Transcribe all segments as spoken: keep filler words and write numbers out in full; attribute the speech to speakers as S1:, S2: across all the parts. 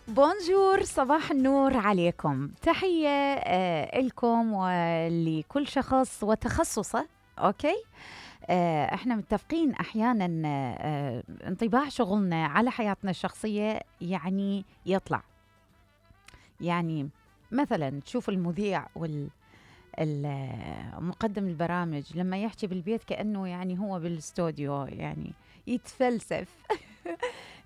S1: بونجور، صباح النور عليكم. تحية آه لكم ولكل شخص وتخصصه. أوكي، آه احنا متفقين أحيانا آه انطباع شغلنا على حياتنا الشخصية يعني يطلع، يعني مثلا تشوف المذيع وال مقدم البرامج لما يحكي بالبيت كأنه يعني هو بالاستوديو، يعني يتفلسف.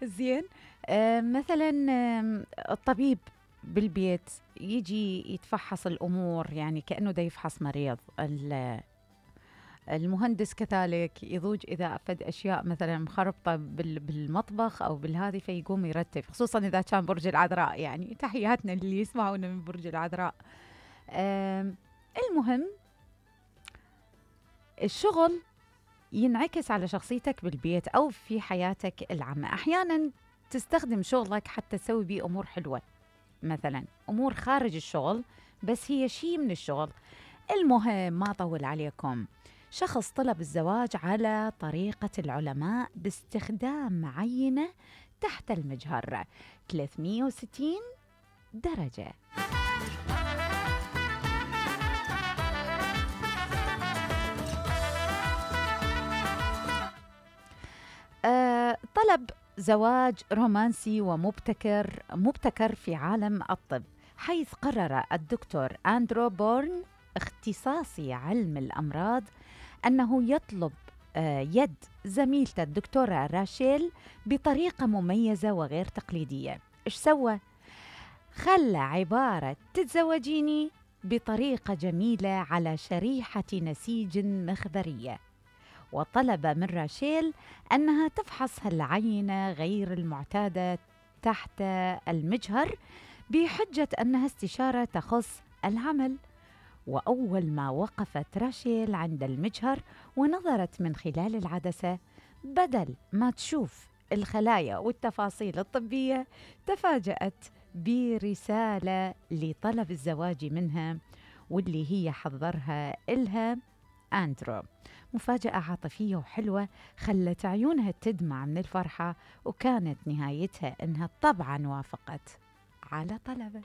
S1: زين. آه مثلا آه الطبيب بالبيت يجي يتفحص الأمور يعني كأنه دا يفحص مريض. المهندس كذلك يضوج إذا أفد أشياء مثلا مخربطة بالمطبخ أو بالهذي فيقوم يرتب، خصوصا إذا كان برج العذراء. يعني تحياتنا اللي يسمعونا من برج العذراء. آه المهم الشغل ينعكس على شخصيتك بالبيت أو في حياتك العامة. أحيانا تستخدم شغلك حتى تسوي بيه أمور حلوة، مثلا أمور خارج الشغل بس هي شيء من الشغل. المهم ما أطول عليكم، شخص طلب الزواج على طريقة العلماء باستخدام عينة تحت المجهر ثلاثمئة وستين درجة. أه طلب زواج رومانسي ومبتكر مبتكر في عالم الطب، حيث قرر الدكتور أندرو بورن اختصاصي علم الأمراض أنه يطلب أه يد زميلته الدكتورة راشيل بطريقة مميزة وغير تقليدية. إيش سوى؟ خلى عبارة تتزوجيني بطريقة جميلة على شريحة نسيج مخبرية، وطلب من راشيل أنها تفحص هالعينة غير المعتادة تحت المجهر بحجة أنها استشارة تخص العمل. وأول ما وقفت راشيل عند المجهر ونظرت من خلال العدسة، بدل ما تشوف الخلايا والتفاصيل الطبية تفاجأت برسالة لطلب الزواج منها، واللي هي حضرها إلها أندرو. مفاجأة عاطفية وحلوة خلت عيونها تدمع من الفرحة، وكانت نهايتها إنها طبعا وافقت على طلبه.